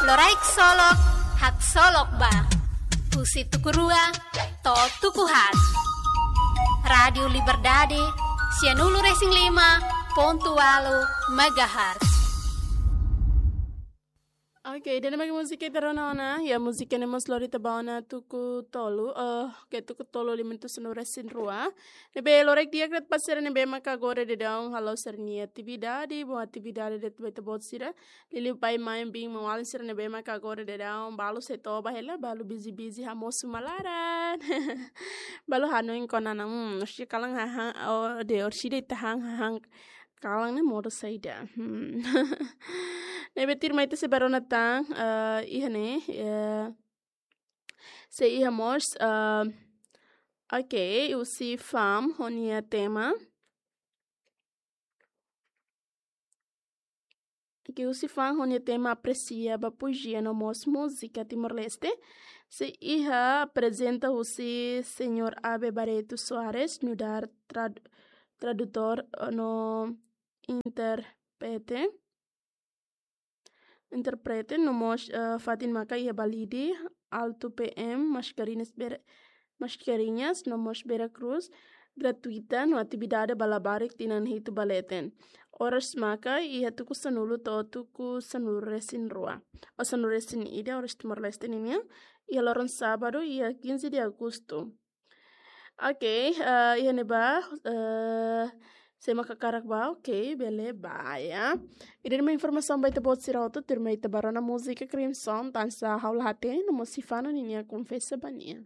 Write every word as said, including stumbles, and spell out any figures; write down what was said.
Loraik Solok, haksolok ba. Husi tuku rua to'o tuku haat. Rádiu Liberdade, sianulu-resin-lima pontu ualu megahertz. Oke, ida-ne'e mak múzika ita rona ona, ya, múzika ne'e mós lori ita ba ona tuku tolu, eh, ke tuku tolu liu to'o sanulu-resin-rua. Ne'ebé loraik di'ak de'it ba sira ne'ebé maka agora daudaun halo sira-nia atividade, bom atividade de'it ba ita-boot sira. Liuliu pai, mãe, biin, maun-alin sira ne'ebé maka agora daudaun, balu sei toba hela, balu busy-busy hamoos uma laran. Balu hanoin kona-ba, hmm, orsida kalan hahán, oh, de orsida ita han hahán kalan ne'e modo saida. Hmm. Ne'ebé tuirmai ita sei bá rona tan, eh, iha ne'e, eh, sei iha mós, eh, oke, husi fam ho nia tema. Oke, husi fam ho nia tema apresia ba poezia no mós múzika Timor-Leste. Sei iha aprezenta husi señór Abe Barreto Soares, nu'udar trad-, tradutór, eh, no intérprete. Intérprete, no mós, eh, fatin maka iha Balide, Alto P M, Mascarenhas Beira, Mascarenhas, no mós Vera Cruz, gratuita, no atividade ba labarik tinan hitu ba leten. Oras maka iha tuku sanulu to'o tuku sanulu-resin-rua. Ou sanulu-resin-ida, oras Timor-Leste ninian, iha loron sábadu, iha quinze de agosto. Oke, eh, iha ne'ebá, eh, sé mak hakarak bá, oke, bele bá, ya. Ida-ne'e mak informasaun ba ita-boot sira hotu, tuirmai ita bá rona múzika Crimson, Tansa Ha'u La Hatene, no mós Sifano ninia Konfesa Ba Nia.